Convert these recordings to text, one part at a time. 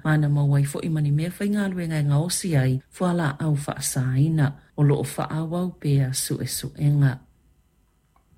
ma na maua ai foi ma ni meafaigaluega e gaosi ai fualaau faasaina. O lo o faaauau pea suesuega.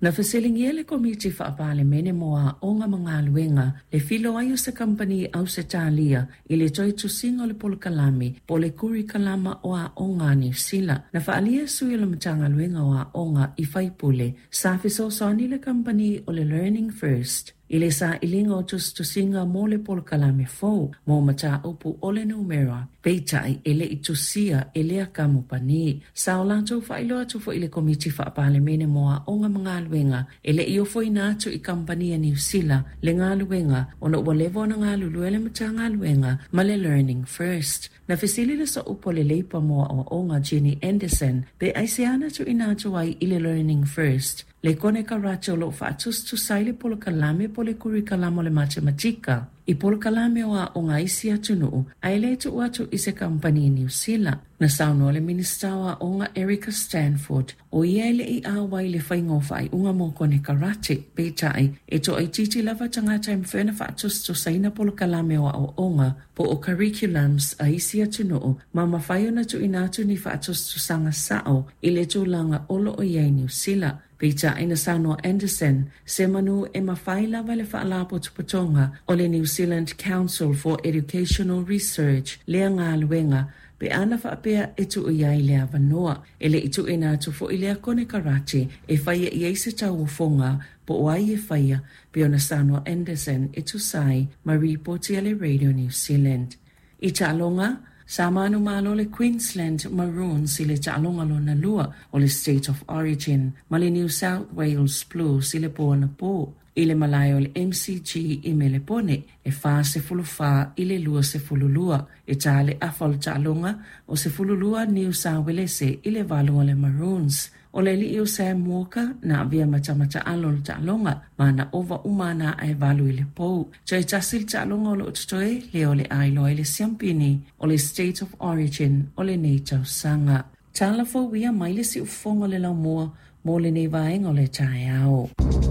Na fesiligia e le Komiti Faa-Palemene mo Aoga ma Galuega le filoai o se kamupani Ausetalia i le toe tusiga o le polokalame po o le kurikalama o aoga a Niu Sila. Na faaalia e sui o le Matagaluega o Aoga i faipule sa fesoasoani le kamupani o le Learning First i le sailiga o tusitusiga mo le polokalame fou mo mataupu o le numera, peitai e le i tusia e lea kamupani. Sa o latou faailoa atu foi i le Komiti Faa-Palemene mo Aoga ma Galuega e le i ofoina atu i kamupani a Niu Sila le galuega ona ua leva ona galulue le Matagaluega ma le Learning First. Na fesili le sooupu a le Leipa mo Aoaoga Jenny Anderson pe aisea na tuuina atu ai i le Learning First le konekarate o lo o faatusatusa ai le polokalame po o le kurikalama o le matematika i polokalame o aoga a isi atunuu ae le tuu atu i se kamupani i Niu Sila. Na saunoa le Minisita o Aoga Erica Stanford o ia e le i auai i le faiga o faaiuga mo konekarate, peitai, e toaitiiti lava tagata e mafai ona faatusatusaina polokalame o aoaoga po o curriculums a isi atunuu ma mafai ona tuuina atu ni faatusatusaga sao i le tulaga o lo o i ai Niu Sila. Peitai na saunoa Anderson, semanu e mafai lava e le Faalapotopotoga o le New Zealand Council for Educational Research lea galuega pe ana faapea e tuu i ai le avanoa. E le i tuuina atu foi lea konekarate e faia i ai se tauofoga po o ai e faia pei ona saunoa Anderson e tusa ai ma ripoti a le Radio New Zealand. I taaloga, sa manumalo le Queensland Maroons i le taaloga lona lua o le State of Origin ma le New South Wales Blues i le po anapo i le malae o le MCG i Melepone e 44 i le 22. E ta le afa o le taaloga o 12 Niu Sa Uelese i le 8 a le Maroons. O le alii o Sam Walker na avea ma tama taalo o le taaloga ma na ova uma ana a'a e 8 i le pou. Toe tasi le taaloga o lo o totoe, lea o le a iloa ai le siampini o le State of Origin o lenei tausaga. Tala fou ia mai le siufofoga o le laumua mo lenei vaega o le taeao.